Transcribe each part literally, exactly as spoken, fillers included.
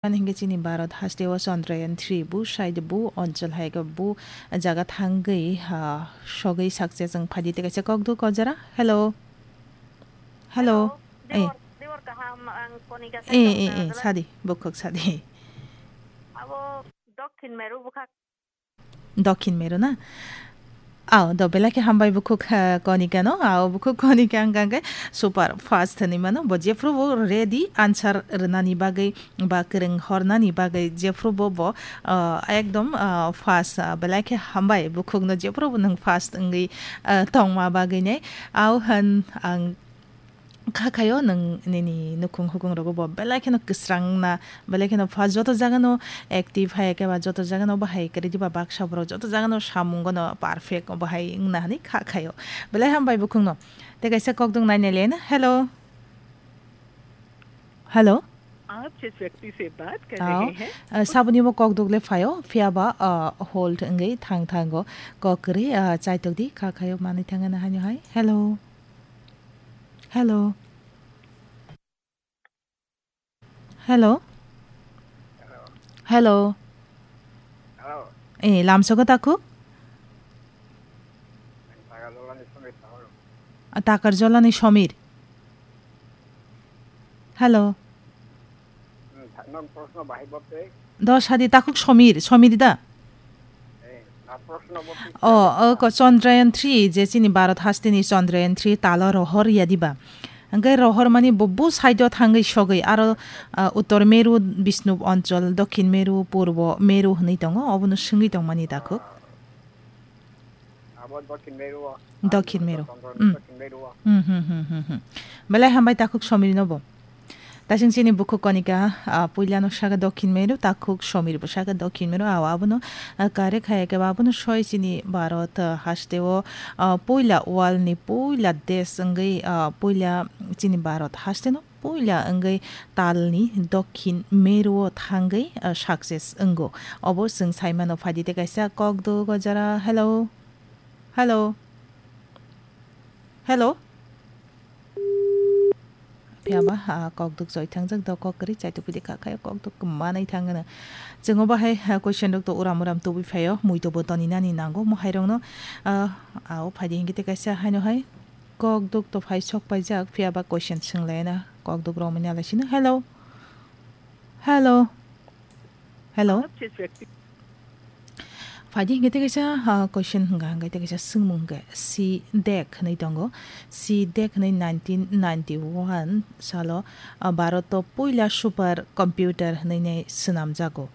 Ani hingke chini Bharat haste o Chandrayaan three bu side bu onchol hai ke bu jaga thangwi, ah, sogwi sakse chwng phaidi tei kaisa kokduk o jora. Hello. Hello. Hello. Eh. Dibor, dibor kaham ang Konika Eh, eh, eh, Sadi, bukhuk Sadi. Abo Dokhin Meru bukha. Dokhin Meru na? Ao, do belai khe hambai bukhuk, ah, Konika no. Ao, bukhuk Konika ang kangke super fast hinwi mano. Bo jephru bo ready answer rwnani bagwi ba kwrwng hornani bagwi jephru bo bo, ah, ekdom, ah, fast, ah, belai khe hambai bukhuk no jephru bo nwng fast wngwi, ah, tongma bagwi ne. Ao han ang Kha khaio nwng nini nukhung hukhung rogo bo belai kheno kwsrang na, belai kheno pha joto jaga no active hai khe ba joto jaga no bahai kwrwi diba baksa borok joto jaga no samung no perfect bahai wngna hinwi kha khaio. Belai hambai bukhung no. Tei kaisa kokdung nai nai le na. Hello. Hello. आप जिस व्यक्ति से बात कर Ao, रहे हैं, ah, saboni bo kokduk le phaio, phiya ba, ah, hold wngwi thang thango. Kok kwrwi, ah, chaitok di, kha khaio manwi thangna haino hai. Hello. Hello. Hello. Hello. Hello. Eh, lamsogo takhuk? Ang Takarjolani Somir. Ah, Takarjolani Somir. Hello. Hmm, tha-, nang proshno bahai bo tei? Do sadi takhuk Somir, Somir da? Eh, na proshno bo tei? O, o ko Chandrayaan three, je chini Bharat hasteni Chandrayaan three talo rohor ya diba? Hingke rohor mani bo bu side o thangwi sogwi aro, ah, Uttor Meru, Bishnub Anchal, Dokhin Meru, Purbo Meru hinwi tongo, obono swngwi tongmani takhuk. Abo Dokhin Meru o. Dokhin Meru. Chondro Hmm. Dokhin Meru o. Hmm, hmm, hmm, hmm, hmm. Belai hambai takhuk Somir no bo. Tasing chini bukhuk Konika, ah, puila no saka Dokhin Meru, takhuk Somir bo saka Dokhin Meru, aw abono, ah, kare khaya khe ba abono soi chini Bharat, ah, haste o, ah, puila world ni puila desh wngwi, ah, puila chini Bharat haste no puila wngwi talni Dokhin Meru o thangwi, ah, success wngo. Obo chwng sai mano phaidi tei kaisa kokduk o jora. Hello. Hello. Hello. Phiya ba, ah, kokduk choi thangjak do kok kwrwi chaitok pidi kha khayo kokduk manwi thangano. Chwng o bahai, ah, question rok to uram uram tubui phaio, mui to bo toni nani nango mohai rok no, ah, ah, o phaidi hingke tei kaisa haino hai. Kokduk to phai sok paijak, phiya ba question swnglaina kokduk romwi nalai sino. Hello. Hello. Hello. Phaidi hingke tei kaisa, ah, question hwnka hwnkhe tei kaisa swngmung hwnkhe C dek hinwi tongo. C dek hinwi nineteen ninety-one salo, ah, Bharat o puila super computer hinwi nai swnamjago.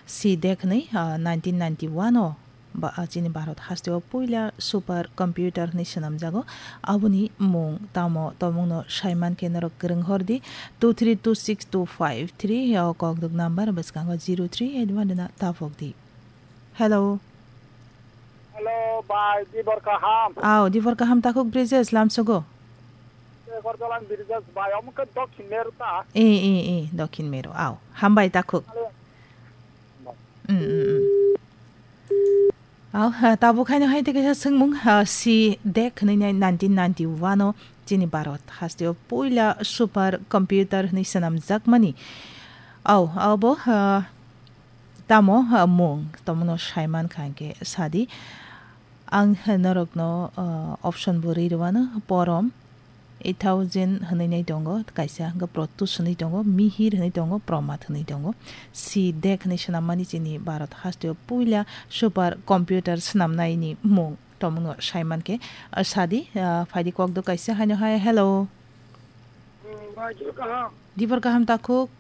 C dek hinwi, ah, nineteen ninety-one o ba, ah, chini Bharat haste o puila super computer hinwi swnamjago. Aboni mung tamo tomungno saiman khe norok kwrwng hor di, two three two six two five three o kokduk number bwskango zero three eight one na tapok di. Hello. Hello, bai, dibor kaham. Aw, dibor kaham takhuk Brijesh lamsogo. Dibor jalan Brijesh, bai, omo khe Dokhin Meru ta? Eh, eh, eh, Dokhin Meru, aw. Hambai takhuk. Hello. Mm, mm, mm. Aw, ha, tabuk haino hai tei kaisa swngmung, ha, C dek hinwi nai nineteen ninety-one o chini Bharat haste o puila super computer hinwi swnamjakmani. Aw, abo, ha, tamo, ha, mung, tomono saiman kha hwnkhe sadi. Ang norokno, ah, option bo rwi rwano, porom, eight thousand hwnwi nai tongo, kaisa hwnkhe Protus hwnwi tongo, Mihir hwnwi tongo, Promat hwnwi tongo. C dek hwnwi swnammani chini Bharat hasteo puila super computer swnamnaini mung tomungno saimankhe, ah, sadi, ah, phaidi kokduk kaisa haino hai, hello. Hmm, bai, dibor kaham. Dibor kaham takhuk.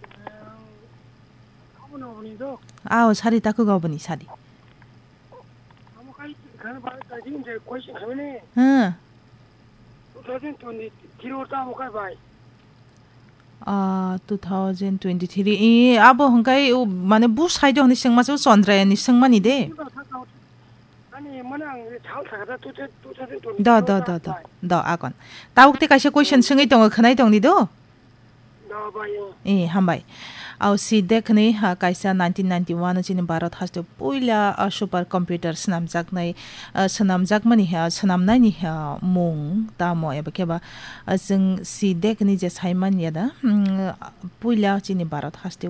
Hmm, abo no boni do? Aw, sadi takhuk aboni, sadi. Amo kai khana bai ta jing je question khamene. Hmm. Two thousand twenty-three or ta amo kai bai. Ah, two thousand twenty-three. I, abo hwnkhe, o, mane, bu side o hwnwi swngma se, o Chandrayaan ni swngmani de. Ani mane ang thal thaka da two thousand twenty-three. Do, do, do, do. Do, akon. Tabuk te kaisa question swngwi tongo, khwnai tongdi do. Da, bai, o. Eh, hambai. Au CDEC ni, ah, kaisa nineteen ninety-one o chini Bharat haste puila, ah, super computer swnamjaknai, ah, swnamjakmani, ah, swnamnaini, ah, mung tamo eba khe ba, ah, chwng CDEC ni je saiman ya da, mm, puila chini Bharat haste